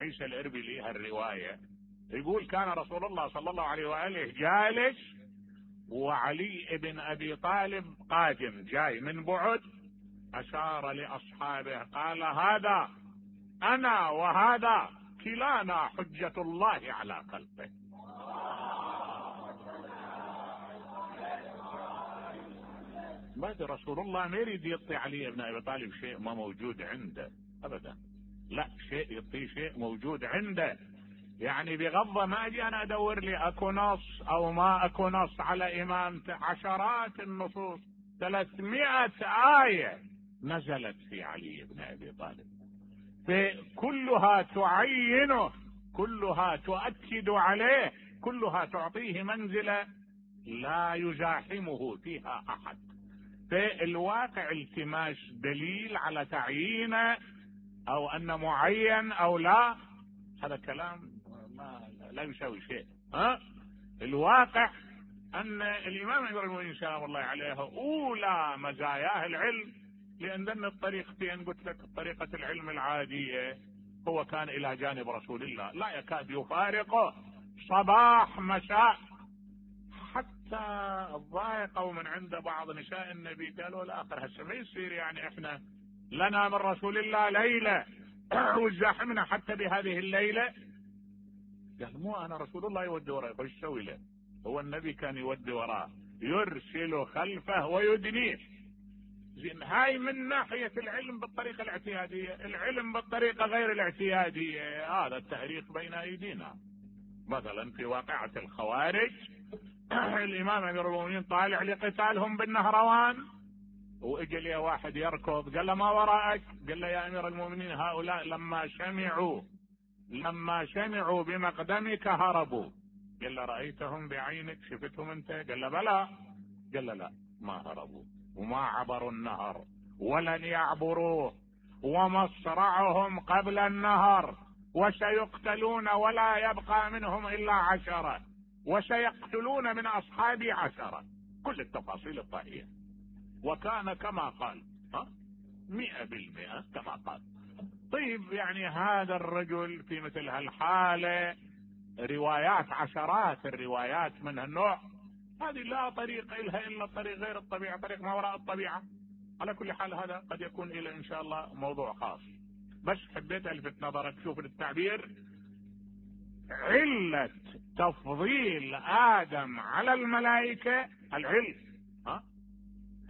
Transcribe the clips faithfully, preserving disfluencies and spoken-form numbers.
عيسى الاربيلي هالرواية، يقول كان رسول الله صلى الله عليه وآله جالس وعلي بن ابي طالب قادم جاي من بعد، اشار لاصحابه قال هذا انا وهذا كلانا حجة الله على خلقه. بعد رسول الله ما يريد يعطي علي بن ابي طالب شيء ما موجود عنده ابدا، لا، شيء يعطيه شيء موجود عنده. يعني بغض ما اجي انا ادور لي اكو نص او ما اكو نص على امام، عشرات النصوص، ثلاثمائة آية نزلت في علي بن ابي طالب، فكلها تعينه، كلها تؤكد عليه، كلها تعطيه منزلة لا يزاحمه فيها احد. فالواقع التماس دليل على تعيينه او ان معين او لا، هذا كلام ما لا يساوي شيء. ها الواقع ان الامام امير المؤمنين سلام الله عليه اولى مزاياه العلم، لان الطريقتين قلت لك طريقة العلم العادية هو كان الى جانب رسول الله لا يكاد يفارقه صباح مساء، حتى الضائقوا من عند بعض نساء النبي قالوا الاخر هسه ما يصير يعني احنا لنا من رسول الله ليلة وزاحمنا حتى بهذه الليلة. قال مو انا رسول الله يودي وراي، ايش يسوي له؟ هو النبي كان يودي وراه، يرسل خلفه ويدنيه. زين هاي من ناحية العلم بالطريقة الاعتيادية، العلم بالطريقة غير الاعتيادية هذا التاريخ بين ايدينا. مثلا في واقعة الخوارج الامام امير المؤمنين طالع لقتالهم بالنهروان، واجى لي واحد يركض قال له ما وراءك؟ قال له يا امير المؤمنين هؤلاء لما سمعوا لما سمعوا بمقدمك هربوا. قال له رأيتهم بعينك؟ شفتهم انت؟ قال له بلى. قال له لا، ما هربوا وما عبروا النهر ولن يعبروه، ومصرعهم قبل النهر، وسيقتلون ولا يبقى منهم الا عشرة، وسيقتلون من اصحابي عشرة. كل التفاصيل الطاهية، وكان كما قال، ها مئة بالمئة كما قال. طيب يعني هذا الرجل في مثل هالحالة روايات، عشرات الروايات من هالنوع، هذه لا طريق إلها إلا طريق غير الطبيعة، طريق ما وراء الطبيعة. على كل حال هذا قد يكون إلى إن شاء الله موضوع خاص، بس حبيت ألفت نظرك شوف التعبير، علة تفضيل آدم على الملائكة العلم، ها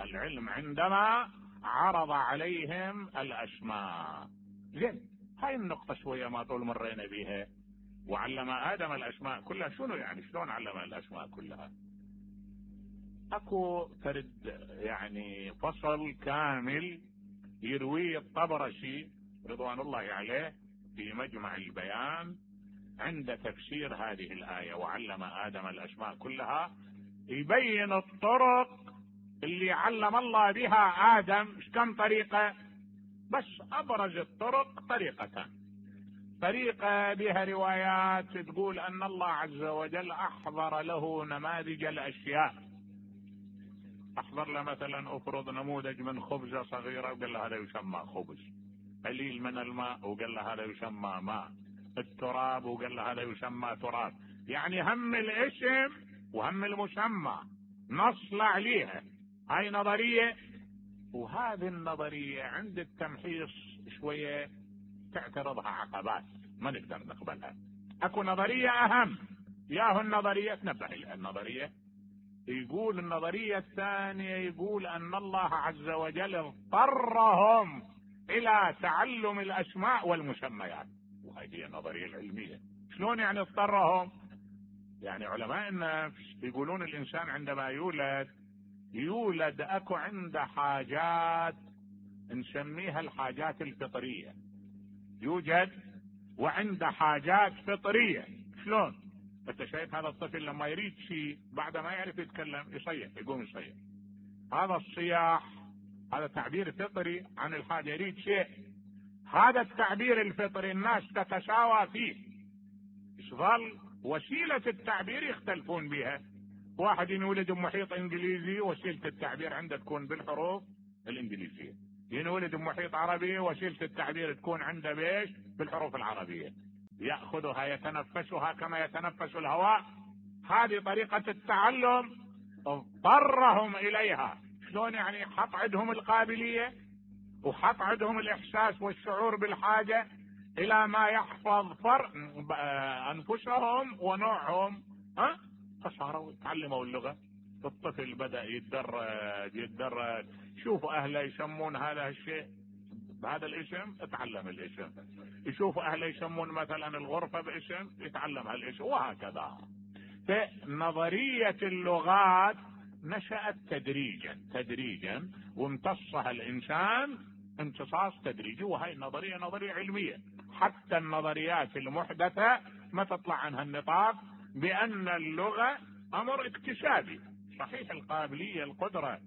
العلم عندما عرض عليهم الأسماء. زين هاي النقطة شوية ما طول مرينا بيها. وعلم آدم الأسماء كلها، شنو يعني شلون علم الأسماء كلها؟ اكو فرد يعني فصل كامل يرويه الطبرسي رضوان الله عليه في مجمع البيان عند تفسير هذه الآية وعلم آدم الأسماء كلها، يبين الطرق اللي علم الله بها آدم. ايش كم طريقة؟ بس أبرز الطرق طريقتان. طريقة بها روايات تقول أن الله عز وجل أحضر له نماذج الأشياء، أحضر له مثلا أفرض نموذج من خبزة صغيرة وقال له هذا يسمى خبز، قليل من الماء وقال له هذا يسمى ماء، التراب وقال له هذا يسمى تراب. يعني هم الاسم وهم المسمى نصل عليها. هاي نظرية، وهذه النظرية عند التمحيص شوية تعترضها عقبات ما نقدر نقبلها. اكو نظرية اهم، ياهو النظرية تنبه لها النظرية، يقول النظرية الثانية يقول ان الله عز وجل اضطرهم الى تعلم الاسماء والمسميات، وهذه هي النظرية العلمية. شلون يعني اضطرهم؟ يعني علماء النفس يقولون الانسان عندما يولد يولد اكو عنده حاجات نسميها الحاجات الفطرية، يوجد وعنده حاجات فطرية. شلون؟ انت شايف هذا الطفل لما يريد شيء بعد ما يعرف يتكلم يصيح، يقوم يصيح. هذا الصياح هذا تعبير فطري عن الحاجة، يريد شيء. هذا التعبير الفطري الناس تتساوى فيه، يظل وسيلة التعبير يختلفون بها. واحد ينولد بمحيط انجليزي وسيلة التعبير عنده تكون بالحروف الانجليزية، ينولد بمحيط عربي وسيلة التعبير تكون عنده بيش بالحروف العربية. يأخذها يتنفسها كما يتنفس الهواء. هذه طريقة التعلم اضطرهم إليها. شلون يعني؟ حط عندهم القابلية وحط عندهم الإحساس والشعور بالحاجة إلى ما يحفظ فرق أنفسهم ونوعهم، ها؟ فصاروا يتعلموا اللغة. الطفل بدأ يتدرج يتدرج شوفوا أهله يسمون هذا الشيء بهذا الاسم، اتعلم الاسم. يشوفوا أهله يسمون مثلا الغرفة باسم، يتعلم هالاسم، وهكذا. فنظرية اللغات نشأت تدريجا تدريجا وامتصها الإنسان امتصاص تدريجي، وهي النظرية نظرية علمية. حتى النظريات المحدثة ما تطلع عنها النطاق بأن اللغة أمر اكتسابي. صحيح القابلية القدرة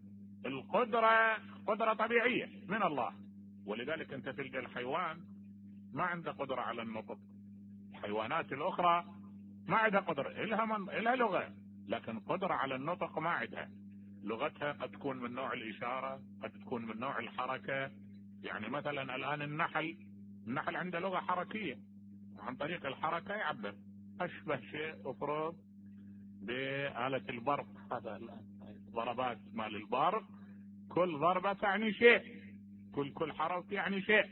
القدرة قدرة طبيعية من الله، ولذلك أنت تلقى الحيوان ما عنده قدرة على النطق. الحيوانات الأخرى ما عندها قدرة، إلها, من... إلها لغة، لكن قدرة على النطق ما عندها. لغتها قد تكون من نوع الإشارة، قد تكون من نوع الحركة. يعني مثلا الآن النحل النحل عنده لغة حركية، عن طريق الحركة يعبر. أشبه شيء أفرض بآلة البرق، هذا ضربات مال البرق، كل ضربة تعني شيء، كل كل حرف يعني شيء.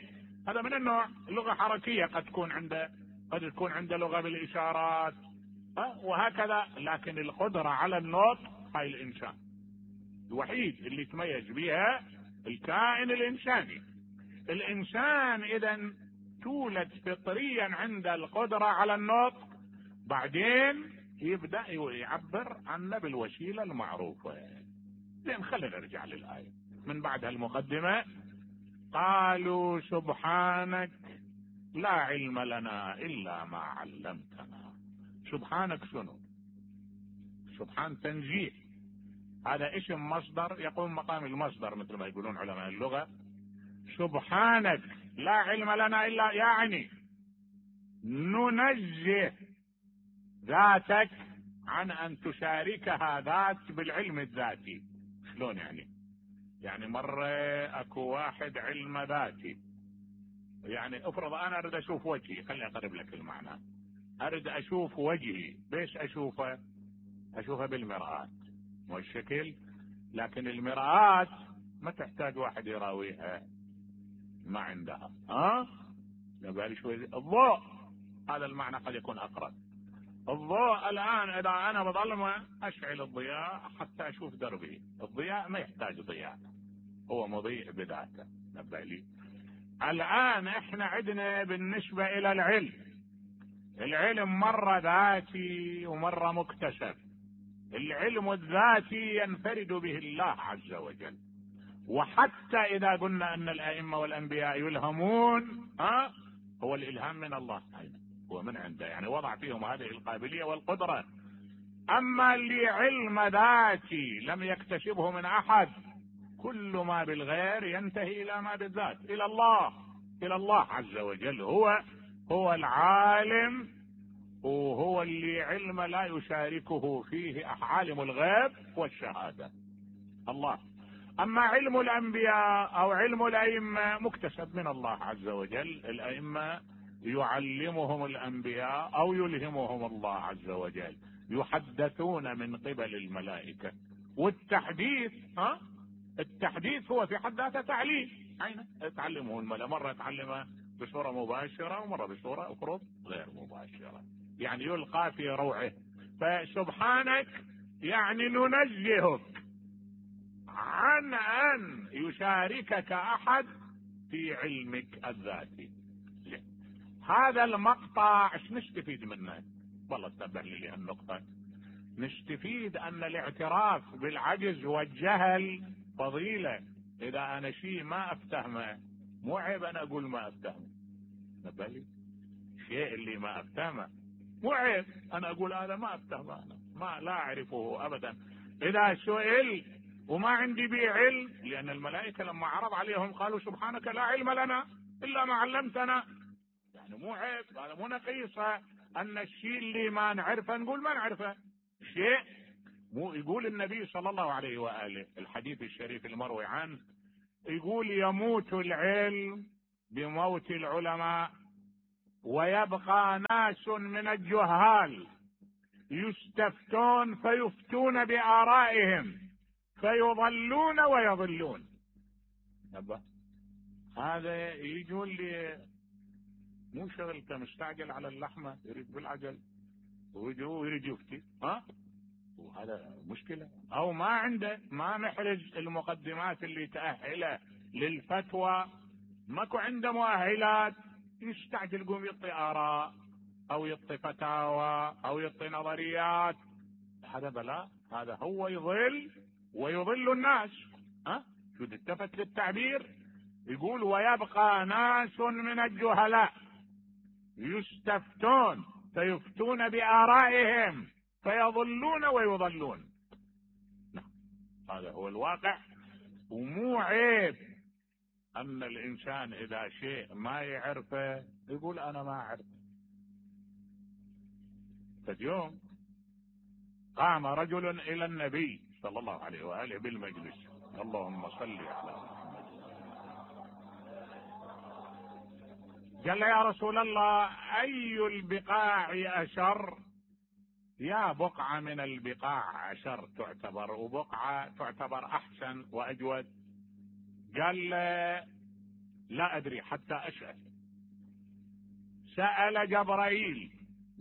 هذا من النوع لغة حركية. قد تكون عنده قد تكون عنده لغة بالإشارات، وهكذا. لكن القدرة على النطق هاي الإنسان الوحيد اللي يتميز بها الكائن الإنساني. الإنسان إذن تولد فطريا عند القدرة على النطق، بعدين يبدأ يعبر عنه بالوسيلة المعروفة. زين، خلينا نرجع للآية من بعد هالمقدمة. قالوا سبحانك لا علم لنا إلا ما علمتنا. سبحانك شنو؟ سبحان تنزيه، هذا اسم مصدر يقوم مقام المصدر مثل ما يقولون علماء اللغة. سبحانك لا علم لنا إلا، يعني ننزه ذاتك عن أن تشاركها ذات بالعلم الذاتي. شلون يعني؟ يعني مرة أكو واحد علم ذاتي، يعني افرض أنا أريد أشوف وجهي، خلي أقرب لك المعنى. أريد أشوف وجهي، بيش أشوفه؟ أشوفه بالمرآة والشكل. لكن المرآة ما تحتاج واحد يراويها، ما عندها. ها نبالي شوي. الضوء هذا المعنى قد يكون أقرب. الضوء الآن إذا أنا بظلمة أشعل الضياء حتى أشوف دربي. الضياء ما يحتاج ضياء، هو مضيء بذاته. نبالي الآن إحنا عندنا بالنسبة إلى العلم، العلم مرة ذاتي ومرة مكتسب. العلم الذاتي ينفرد به الله عز وجل، وحتى إذا قلنا أن الأئمة والأنبياء يلهمون، ها هو الإلهام من الله، هو من عنده، يعني وضع فيهم هذه القابلية والقدرة. أما اللي علم ذاتي لم يكتسبه من أحد، كل ما بالغير ينتهي إلى ما بالذات، إلى الله إلى الله عز وجل. هو هو العالم، وهو اللي علم لا يشاركه فيه عالم الغيب والشهادة، الله. أما علم الأنبياء أو علم الأئمة مكتسب من الله عز وجل. الأئمة يعلمهم الأنبياء أو يلهمهم الله عز وجل، يحدثون من قبل الملائكة. والتحديث، ها التحديث هو في حد ذاته تعليم. أين تعلمه الملائكة؟ مرة تعلمه بصورة مباشرة ومرة بصورة أخرى غير مباشرة، يعني يلقى في روعه. فسبحانك يعني ننزهك عن أن يشاركك أحد في علمك الذاتي. هذا المقطع ايش نستفيد منه؟ والله تتبع لي النقطة. نستفيد أن الاعتراف بالعجز والجهل فضيلة. إذا أنا شيء ما أفتهمه مو عيب أنا أقول ما أفتهمه. نبالي شيء اللي ما أفتهمه مو عيب أنا أقول هذا ما أفتهمه، أنا ما لا أعرفه أبدا. إذا سئل وما عندي به علم، لأن الملائكة لما عرض عليهم قالوا سبحانك لا علم لنا إلا ما علمتنا، يعني مو عيب، هذا مو نقيصة أن الشيء اللي ما نعرفه نقول ما نعرفه. شيء مو يقول النبي صلى الله عليه وآله الحديث الشريف المروي عنه، يقول يموت العلم بموت العلماء. ويبقى ناس من الجهال يستفتون فيفتون بآرائهم فيضلون ويضلون. هذا يقول لي مو شغلته، مستعجل على اللحمة، يريد بالعجل ويريد يفتي، ها وهذا مشكلة. او ما عنده، ما محرز المقدمات اللي تأهله للفتوى، ماكو عنده مؤهلات، يستعجل يقوم يعطي آراء او يعطي فتاوى او يعطي نظريات. هذا بلاء، هذا هو يضل ويضل الناس. ها شو التفت للتعبير؟ يقول ويبقى ناس من الجهلاء يستفتون فيفتون بآرائهم فيضلون ويضلون. نعم هذا هو الواقع. ومو عيب أن الإنسان إذا شيء ما يعرفه يقول أنا ما أعرفه. فاليوم قام رجل إلى النبي صلى الله عليه وآله بالمجلس، اللهم صل على محمد، قال له يا رسول الله أي البقاع أشر؟ يا بقعة من البقاع أشر تعتبر، وبقعة تعتبر أحسن وأجود؟ قال له لا أدري حتى أسأل. سأل جبرائيل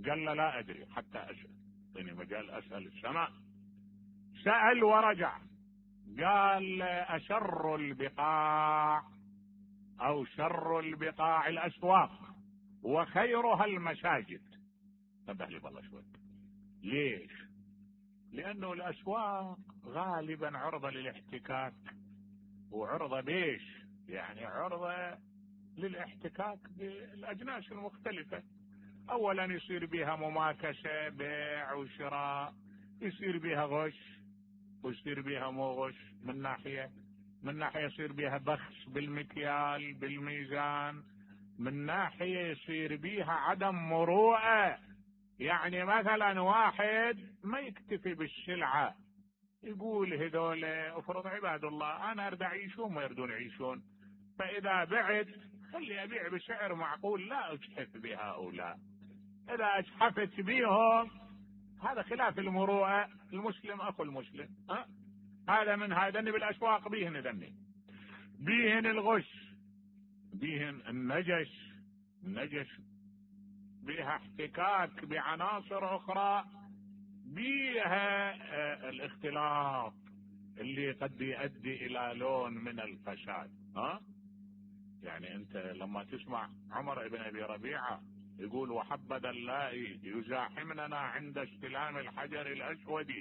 قال له لا أدري حتى أسأل، يعني مجال أسأل السماء. سأل ورجع قال أشر البقاع أو شر البقاع الأسواق وخيرها المساجد. انتبه لي والله شوي. ليش؟ لأنه الأسواق غالبا عرضة للاحتكاك، وعرضة بيش يعني عرضة للاحتكاك بالأجناس المختلفة. أولا يصير بها مماكسة، بيع وشراء، يصير بها غش ويصير بها مو غش. من ناحية من ناحية يصير بها بخس بالمكيال بالميزان، من ناحية يصير بها عدم مروءة. يعني مثلا واحد ما يكتفي بالسلعة، يقول هذول افرض عباد الله انا اريد اعيشون ما يردون يعيشون، فاذا بعت خلي ابيع بسعر معقول لا اجحف بهؤلاء. اذا اجحفت بهم هذا خلاف المروءة. المسلم اخو المسلم. ها هذا من هذا بالاسواق بيهن ذني، بيهن الغش، بيهن النجش، النجش بيها احتكاك بعناصر اخرى، بيها الاختلاط اللي قد يؤدي الى لون من الفساد. ها يعني انت لما تسمع عمر بن ابي ربيعه يقول وحبذا اللائي يزاحمننا عند استلام الحجر الاسود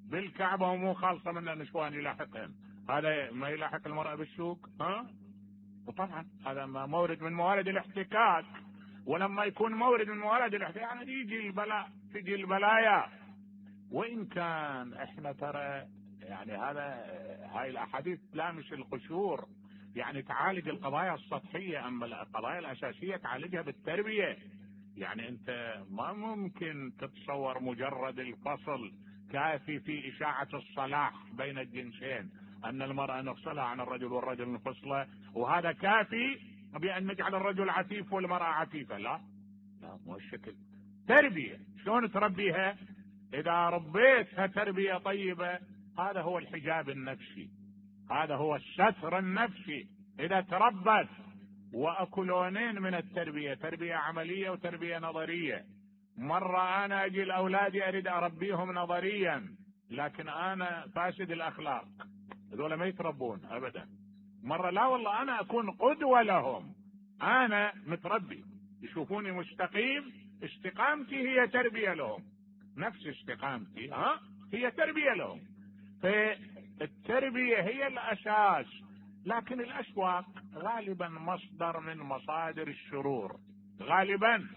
بالكعبه ومو خالصه من النسوان يلاحقهم، هذا ما يلاحق المراه بالسوق؟ ها وطبعا هذا مورد من موارد الاحتكاك. ولما يكون مورد من موارد الاحتكاك يعني يجي البلاء، تجي البلايا. وان كان احنا ترى يعني هذا هاي الاحاديث تلامس القشور، يعني تعالج القضايا السطحيه، اما القضايا الاساسيه تعالجها بالتربيه. يعني انت ما ممكن تتصور مجرد الفصل كافي في اشاعه الصلاح بين الجنسين، ان المراه نفصلها عن الرجل والرجل نفصله، وهذا كافي بان نجعل الرجل عفيف والمراه عفيفه. لا لا مو الشكل. تربيه شلون تربيها؟ اذا ربيتها تربيه طيبه هذا هو الحجاب النفسي، هذا هو الستر النفسي اذا تربت. واكو لونين من التربيه، تربيه عمليه وتربيه نظريه. مره انا اجي لاولادي اريد اربيهم نظريا لكن انا فاسد الاخلاق، هذول ما يتربون ابدا. مره لا والله انا اكون قدوه لهم، انا متربي يشوفوني مستقيم، استقامتي هي تربيه لهم، نفس استقامتي ها هي تربيه لهم. فالتربيه هي الاساس. لكن الاسواق غالبا مصدر من مصادر الشرور غالبا،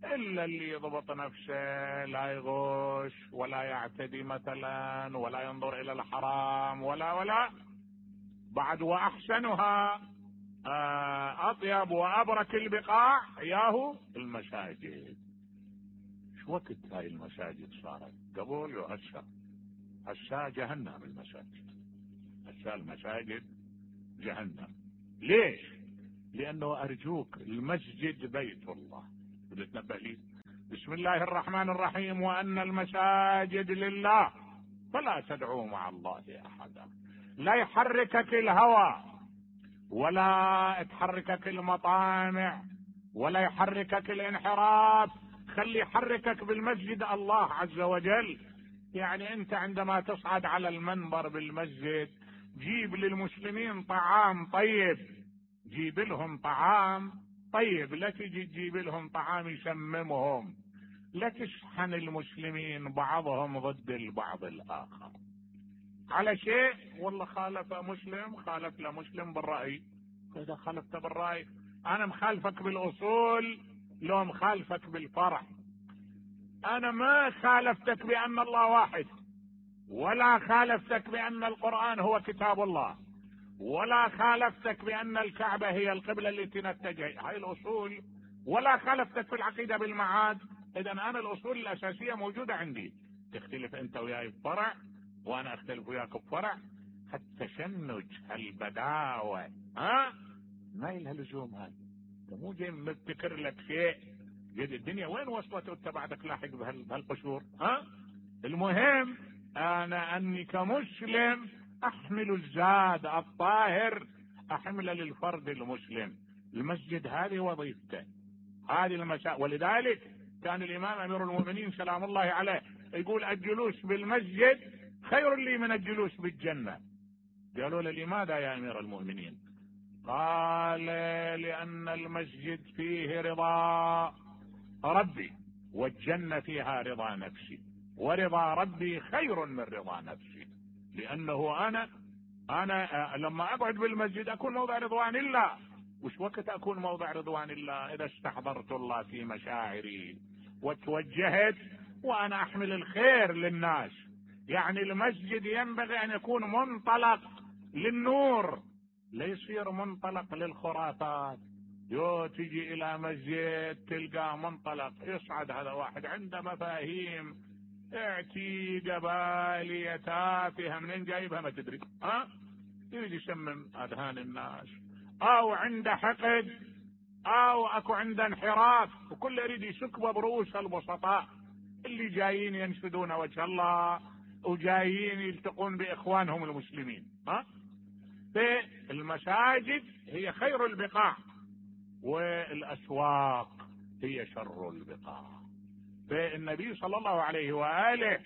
الا اللي يضبط نفسه لا يغش ولا يعتدي مثلا ولا ينظر الى الحرام ولا ولا بعد. واحسنها اطيب وابرك البقاع ياهو المساجد. شو وقت هاي المساجد صارت؟ قبل وهسه؟ هسه جهنم المساجد، هسه المساجد جهنم. ليش؟ لانه ارجوك المسجد بيت الله، بدي تنبه لي. بسم الله الرحمن الرحيم: وأن المساجد لله فلا تدعوا مع الله أحدا. لا يحركك الهوى، ولا تحركك المطامع، ولا يحركك الانحراف. خلي يحركك بالمسجد الله عز وجل. يعني انت عندما تصعد على المنبر بالمسجد جيب للمسلمين طعام طيب، جيب لهم طعام طيب، لا تجي تجيب لهم طعام يسممهم، لا تشحن المسلمين بعضهم ضد البعض الآخر على شيء. والله خالف مسلم، خالف لمسلم بالرأي. إذا خالفت بالرأي أنا مخالفك بالأصول، لو مخالفك بالفرع. أنا ما خالفتك بأن الله واحد، ولا خالفتك بأن القرآن هو كتاب الله، ولا خالفتك بأن الكعبة هي القبلة التي نتجه، هاي الأصول. ولا خالفتك في العقيدة بالمعاد. إذا أنا الأصول الأساسية موجودة عندي. تختلف أنت وياي بفرع وأنا أختلف وياك بفرع. التشنج، البداوة، ها ما لها لزوم. هاي انت مو جاي مبتكر لك شيء. جد الدنيا وين وصلت وانت بعدك لاحق بهالقشور؟ ها المهم انا اني كمسلم احمل الزاد الطاهر، احمله للفرد المسلم. المسجد هذه وظيفته، هذه المساء. ولذلك كان الامام امير المؤمنين سلام الله عليه يقول: الجلوس بالمسجد خير لي من الجلوس بالجنة. قالوا له: لماذا يا امير المؤمنين؟ قال: لان المسجد فيه رضا ربي، والجنة فيها رضا نفسي، ورضا ربي خير من رضا نفسي. لانه انا انا لما اقعد بالمسجد اكون موضع رضوان الله. وش وقت اكون موضع رضوان الله؟ اذا استحضرت الله في مشاعري وتوجهت وانا احمل الخير للناس. يعني المسجد ينبغي ان يكون منطلق للنور، لا يصير منطلق للخرافات. يو تجي الى مسجد تلقى منطلق يصعد هذا واحد عنده مفاهيم اعتيقة بالية تافهة منين جايبها ما تدري، ها يجي يسمم اذهان الناس، او عنده حقد، او اكو عنده انحراف، وكل يريد يسكبه برؤوس البسطاء اللي جايين ينشدون وجه الله وجايين يلتقون باخوانهم المسلمين. ها فالمساجد هي خير البقاع، والاسواق هي شر البقاع. فالنبي صلى الله عليه واله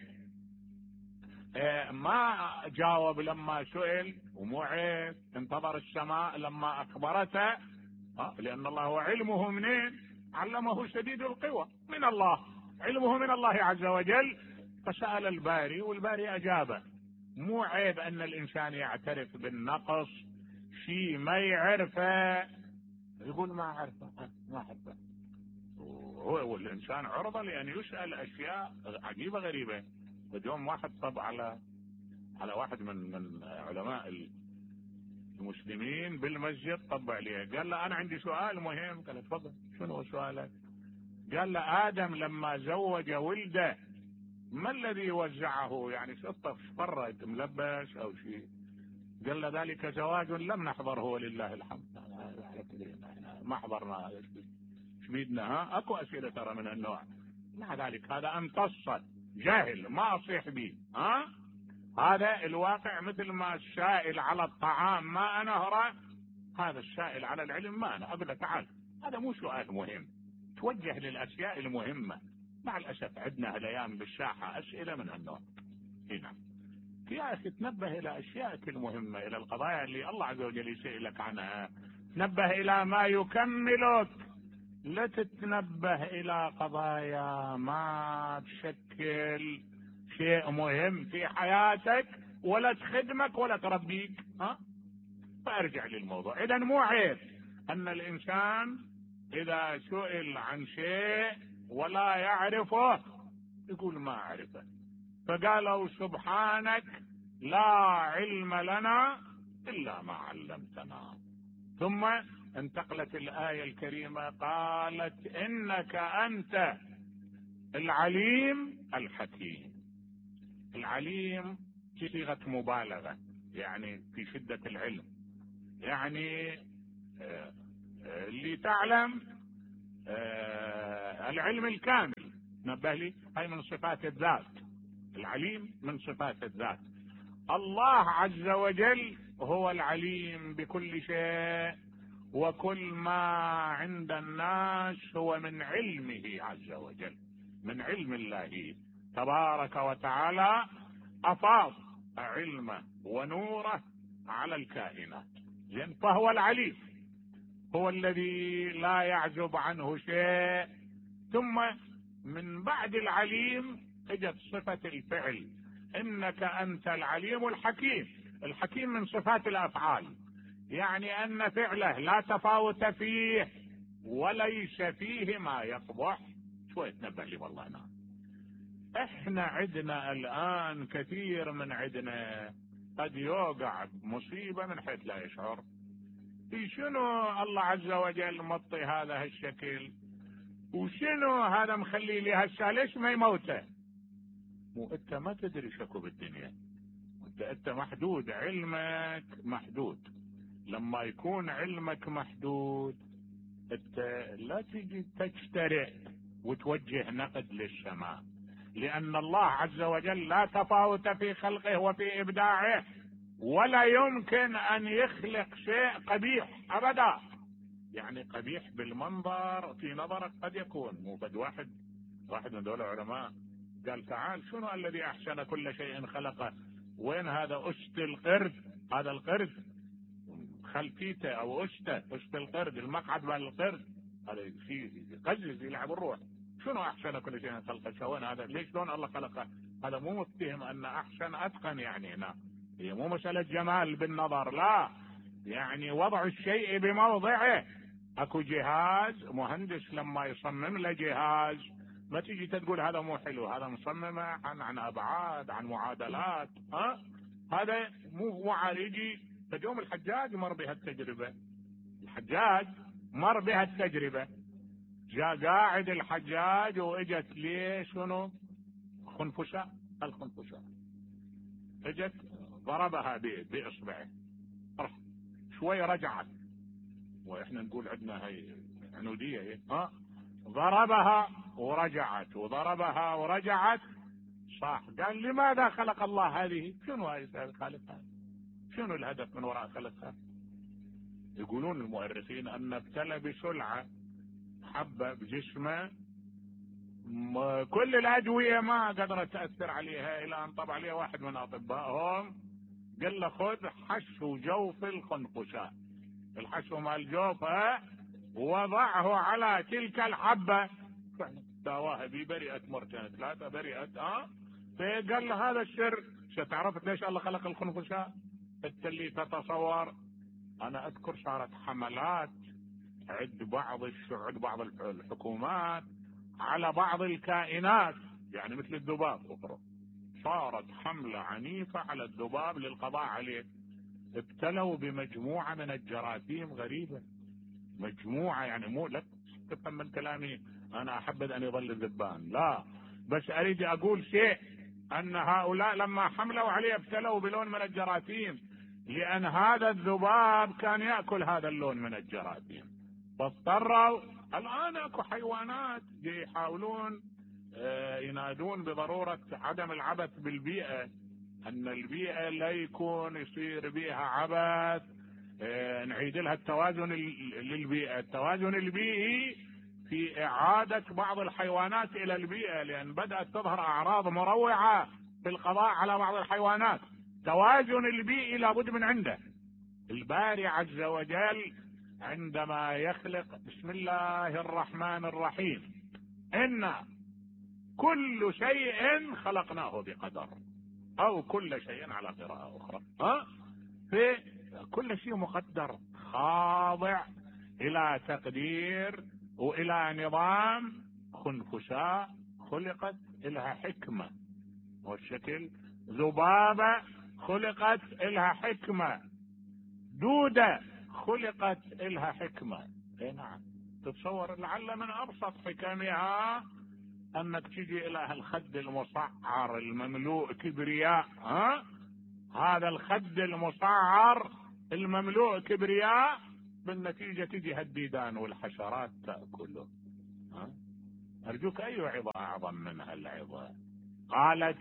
ما جاوب لما سئل، ومو عيب، انتظر السماء لما اخبرته، لان الله علمه منين؟ علمه شديد القوى من الله، علمه من الله عز وجل. فسأل الباري والباري اجابه. مو عيب ان الانسان يعترف بالنقص، شيء ما يعرفه يقول ما اعرفه ما اعرفه. هو والانسان عرضه لان يسأل اشياء عجيبه غريبه. اليوم واحد طب على على واحد من من علماء المسلمين بالمسجد، طب عليه قال له: انا عندي سؤال مهم. قال: تفضل، شنو هو سؤالك؟ قال له: ادم لما زوج ولده ما الذي وزعه؟ يعني شطه فرت ملبس او شيء. قال له: ذلك زواج لم نحضره ولله الحمد. ما حضرنا، ايش بيدنا؟ ها اكو اسئله ترى من النوع. مع ذلك هذا امتص جاهل ما اصيح به. ها هذا الواقع. مثل ما السائل على الطعام ما انهره، هذا السائل على العلم ما انا. اقول له: تعال، هذا مو سؤال مهم، توجه للاشياء المهمه. مع الاسف عندنا هالايام بالساحه اسئله من هالنوع. هنا يا اخي تنبه الى اشيائك المهمه، الى القضايا اللي الله عز وجل يسألك عنها. تنبه الى ما يكملك، لا تتنبه الى قضايا ما تشكل شيء مهم في حياتك ولا تخدمك ولا تربيك. ها فارجع للموضوع. اذا مو عيب ان الانسان اذا سئل عن شيء ولا يعرفه يقول ما اعرفه. فقالوا: سبحانك لا علم لنا الا ما علمتنا. ثم انتقلت الآية الكريمة قالت: انك انت العليم الحكيم. العليم صيغة مبالغة، يعني في شدة العلم، يعني اللي تعلم آه العلم الكامل، نبه لي، هاي من صفات الذات. العليم من صفات الذات. الله عز وجل هو العليم بكل شيء، وكل ما عند الناس هو من علمه عز وجل، من علم الله تبارك وتعالى. أفاض علمه ونوره على الكائنات، زين، فهو العليم، هو الذي لا يعزب عنه شيء. ثم من بعد العليم اجت صفة الفعل، انك انت العليم الحكيم. الحكيم من صفات الافعال، يعني ان فعله لا تفاوت فيه وليس فيه ما يقبح. شوية تنبه لي والله. انا احنا عندنا الان كثير من عندنا قد يوقع بمصيبة من حيث لا يشعر. في شنو الله عز وجل مطي هذا الشكل، وشنو هذا مخلي لي هسه، ليش ما يموته؟ مو انت ما تدري شكو بالدنيا، انت انت محدود، علمك محدود. لما يكون علمك محدود انت لا تجي تجترئ وتوجه نقد للسماء، لان الله عز وجل لا تفاوت في خلقه وفي ابداعه، ولا يمكن ان يخلق شيء قبيح ابدا. يعني قبيح بالمنظر في نظرك قد يكون، مو بد واحد واحد من دول العلماء قال تعال شنو الذي احسن كل شيء خلقه؟ وين هذا أشت القرد؟ هذا القرد خلفيته او أشته، أشت القرد، المقعد مال القرد، هذا شيء يقزز يلعب الروح. شنو احسن كل شيء خلقه؟ وين هذا؟ ليش شلون الله خلقه؟ هذا مو متهم ان احسن اتقن، يعني هنا هي مو مسألة جمال بالنظر، لا، يعني وضع الشيء بموضعه. اكو جهاز مهندس لما يصمم له جهاز ما تيجي تقول هذا مو حلو، هذا مصممه عن عن ابعاد، عن معادلات، ها هذا مو مو يجي. فيوم الحجاج مر بهالتجربه، الحجاج مر بهالتجربه، جاء قاعد الحجاج واجت ليه شنو؟ خنفساء. الخنفساء اجت ضربها باصبعه، شوي رجعت، واحنا نقول عندنا هي عنوديه هي. ها ضربها ورجعت، وضربها ورجعت، صح. قال لماذا خلق الله هذه؟ شنو هاي خالقها؟ شنو الهدف من وراء خلقها؟ يقولون المؤرخين ان ابتلى بسلعه حبه بجسمه، كل الادويه ما قدرت تاثر عليها، الى ان طبع عليه واحد من اطبائهم قال له خذ حشو جوف الخنفساء، الحشو مال جوفه، وضعه على تلك الحبه، داواها بي، برئت مرتين ثلاثه، برئت. اه فقال له هذا السر. ستعرف ليش الله خلق الخنفساء؟ انت اللي تتصور. انا اذكر صارت حملات عند بعض عند بعض الحكومات على بعض الكائنات، يعني مثل الذباب، اخرى صارت حملة عنيفة على الذباب للقضاء عليه. ابتلوا بمجموعة من الجراثيم غريبة، مجموعة، يعني مو لا تفهم من كلامي انا احبذ ان يظل الذبان، لا، بس اريد اقول شيء، ان هؤلاء لما حملوا عليه ابتلوا بلون من الجراثيم، لان هذا الذباب كان يأكل هذا اللون من الجراثيم، فاضطروا. الان اكو حيوانات يحاولون ينادون بضرورة عدم العبث بالبيئة، ان البيئة لا يكون يصير بيها عبث، نعيد لها التوازن للبيئة، التوازن البيئي في اعادة بعض الحيوانات الى البيئة، لان بدأت تظهر اعراض مروعة في القضاء على بعض الحيوانات. توازن البيئي لابد من عنده. الباري عز وجل عندما يخلق، بسم الله الرحمن الرحيم، إن كل شيء خلقناه بقدر، او كل شيء على قراءة اخرى، ها في كل شيء مقدر، خاضع الى تقدير والى نظام. خنفساء خلقت لها حكمة، والشكل ذبابة خلقت لها حكمة، دودة خلقت لها حكمة. اي نعم، تتصور لعل من ابسط حكمها انك تجي الى الخد المصعر المملوء كبرياء، ها هذا الخد المصعر المملوء كبرياء، بالنتيجة تجي هالديدان والحشرات تأكله. ها؟ أرجوك أي عظة أعظم من هالعظة؟ قالت: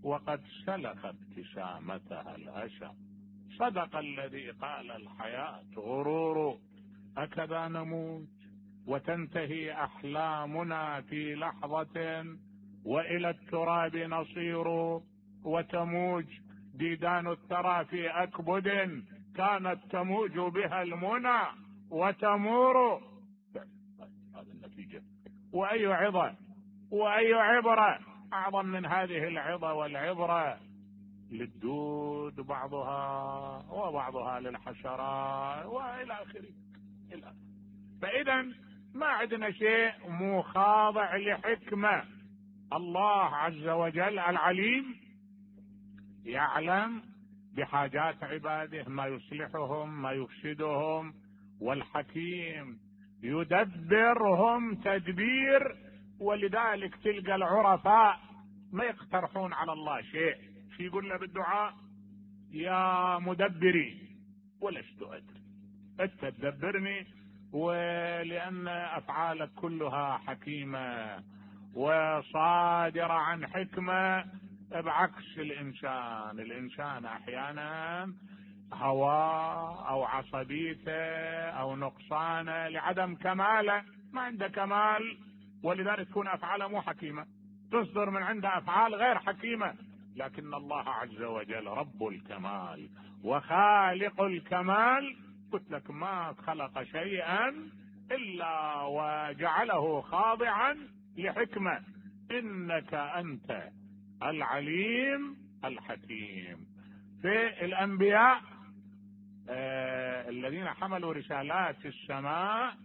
وقد سلخ ابتسامتها الأسى، صدق الذي قال الحياة غرور، أكذا نموت وتنتهي أحلامنا في لحظة، وإلى التراب نصير، وتموج ديدان الثرى في أكبد كانت تموج بها المنى وتمور. هذه النتيجة. وأي عظة وأي عبرة أعظم من هذه العظة والعبرة؟ للدود بعضها وبعضها للحشرات وإلى آخره. فإذا ما عندنا شيء مو خاضع لحكمة. الله عز وجل العليم يعلم بحاجات عباده، ما يصلحهم ما يفسدهم، والحكيم يدبرهم تدبير. ولذلك تلقى العرفاء ما يقترحون على الله شيء، شو يقول له بالدعاء؟ يا مدبري ولست أدري، أنت تدبرني، ولأن أفعالك كلها حكيمة وصادرة عن حكمة، بعكس الإنسان. الإنسان أحيانا هواه أو عصبيته أو نقصانه لعدم كماله، ما عنده كمال، ولذلك تكون أفعاله مو حكيمة، تصدر من عنده أفعال غير حكيمة. لكن الله عز وجل رب الكمال وخالق الكمال، قلت لك ما خلق شيئا إلا وجعله خاضعا لحكمة. إنك أنت العليم الحكيم. في الأنبياء آه الذين حملوا رسالات السماء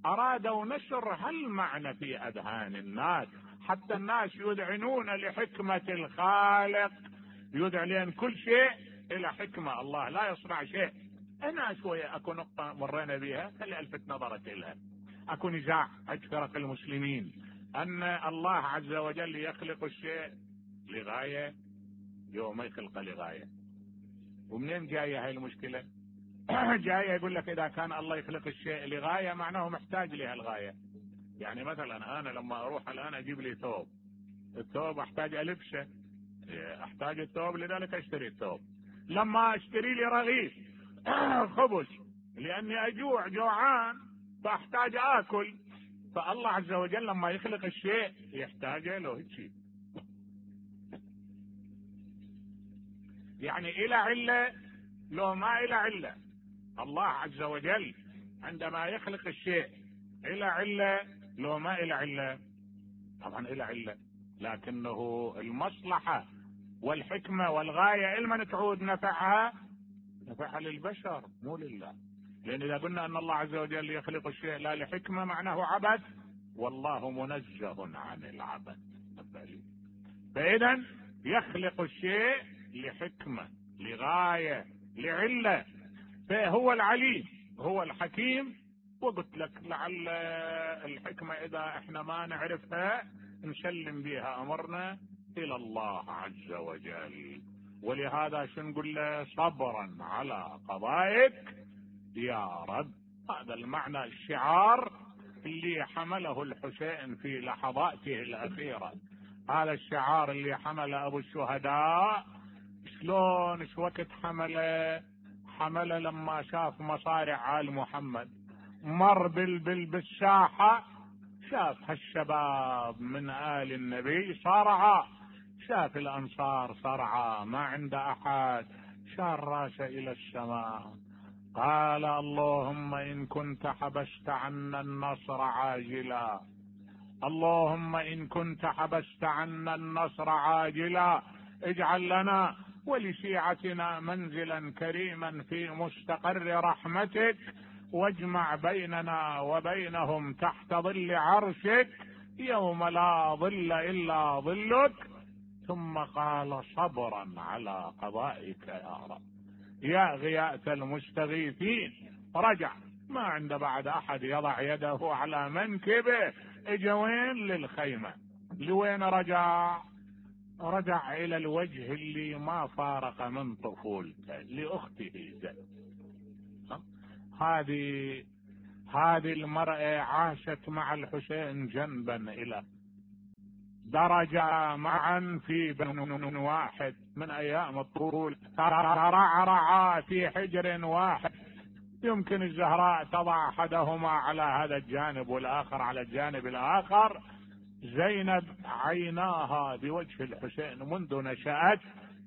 أرادوا نشر هالمعنى في أذهان الناس، حتى الناس يذعنون لحكمة الخالق، يدعى لأن كل شيء إلى حكمة. الله لا يصنع شيء. أنا شوية أكو نقطة مرينا بها خلي ألفت نظرك إلها. أكو نزاع عند فرق المسلمين أن الله عز وجل يخلق الشيء لغاية، يوم ما يخلقه لغاية. ومنين جاية هاي المشكلة؟ جاية يقول لك إذا كان الله يخلق الشيء لغاية معناه محتاج لها الغاية. يعني مثلا أنا لما أروح الآن أجيب لي ثوب، الثوب أحتاج ألبسه، أحتاج الثوب لذلك أشتري الثوب. لما أشتري لي رغيف خبز لأني أجوع جوعان فأحتاج آكل. فالله عز وجل لما يخلق الشيء يحتاج له هيك، يعني إلى علة لو ما إلى علة. الله عز وجل عندما يخلق الشيء إلى علة لو ما إلى علة؟ طبعا إلى علة، لكنه المصلحة والحكمة والغاية إلمن تعود نفعها؟ نفعها للبشر مو لله. لأن إذا قلنا أن الله عز وجل يخلق الشيء لا لحكمة معناه عبث، والله منزه عن العبث. فإذا يخلق الشيء لحكمة لغاية لعلة، فهو العليم هو الحكيم. وقلت لك لعل الحكمة إذا احنا ما نعرفها نسلم بها أمرنا إلى الله عز وجل. ولهذا شو نقول له؟ صبرا على قضائك يا رب. هذا المعنى الشعار اللي حمله الحسين في لحظاته الأخيرة، هذا الشعار اللي حمله أبو الشهداء. شلون ايش وقت حمله؟ حمله لما شاف مصارع آل محمد، مر بالساحة شاف هالشباب من آل النبي صارعا، شاف الأنصار صرعا ما عند أحد، شار راسه إلى السماء قال اللهم إن كنت حبست عنا النصر عاجلا، اللهم إن كنت حبست عنا النصر عاجلا اجعل لنا ولشيعتنا منزلا كريما في مستقر رحمتك، واجمع بيننا وبينهم تحت ظل عرشك يوم لا ظل إلا ظلك. ثم قال صبرا على قضائك يا رب يا غياث المستغيثين. رجع ما عنده بعد أحد يضع يده على منكبه، اجا وين؟ للخيمة. لوين رجع؟ رجع إلى الوجه اللي ما فارق من طفولته، لأخته زينب. هذه هذه المرأة عاشت مع الحسين جنبا إلى درجة معا في بن واحد من أيام الطفولة، ترعرعا في حجر واحد. يمكن الزهراء تضع أحدهما على هذا الجانب والآخر على الجانب الآخر. زينب عيناها بوجه الحسين منذ نشأت،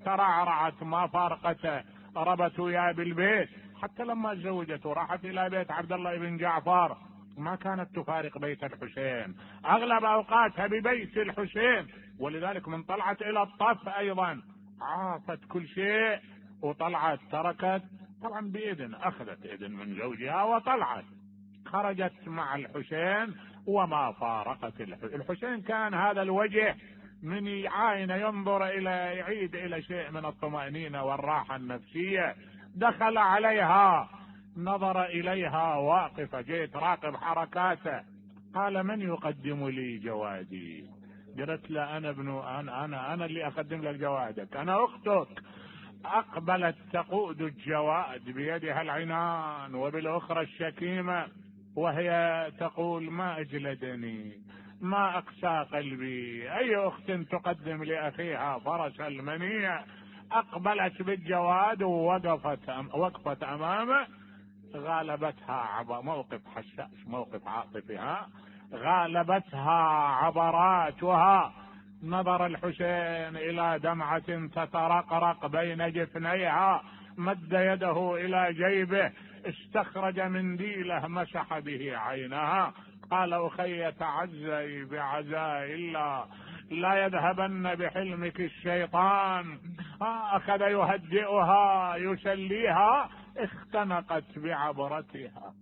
ترعرعت ما فارقته، ربت وياه بالبيت، حتى لما تزوجت وراحت إلى بيت عبد الله بن جعفر ما كانت تفارق بيت الحسين، أغلب أوقاتها ببيت الحسين. ولذلك من طلعت إلى الطف أيضا عافت كل شيء وطلعت، تركت طبعا بإذن، أخذت إذن من زوجها وطلعت، خرجت مع الحسين وما فارقت الحسين. الحسين كان هذا الوجه من يعاين ينظر إلى يعيد إلى شيء من الطمأنينة والراحة النفسية. دخل عليها نظر إليها واقفة، جيت راقب حركاته، قال من يقدم لي جوادي؟ قالت له أنا ابن أنا أنا أنا اللي أقدم لك جوادك، أنا أختك. أقبلت تقود الجواد بيدها العنان وبالأخرى الشكيمة، وهي تقول ما أجلدني، ما أقسى قلبي، أي أخت تقدم لأخيها فرس المنيع. أقبلت بالجواد ووقفت وقفت أمامه، غالبتها عبر موقف حساس، موقف عاطفها، غالبتها عبراتها. نظر الحسين إلى دمعة تترقرق بين جفنيها، مد يده إلى جيبه، استخرج منديله مسح به عينها، قال أخي تعزي بعزاء الله، لا يذهبن بحلمك الشيطان. أخذ يهدئها يسليها، اختنقت بعبرتها،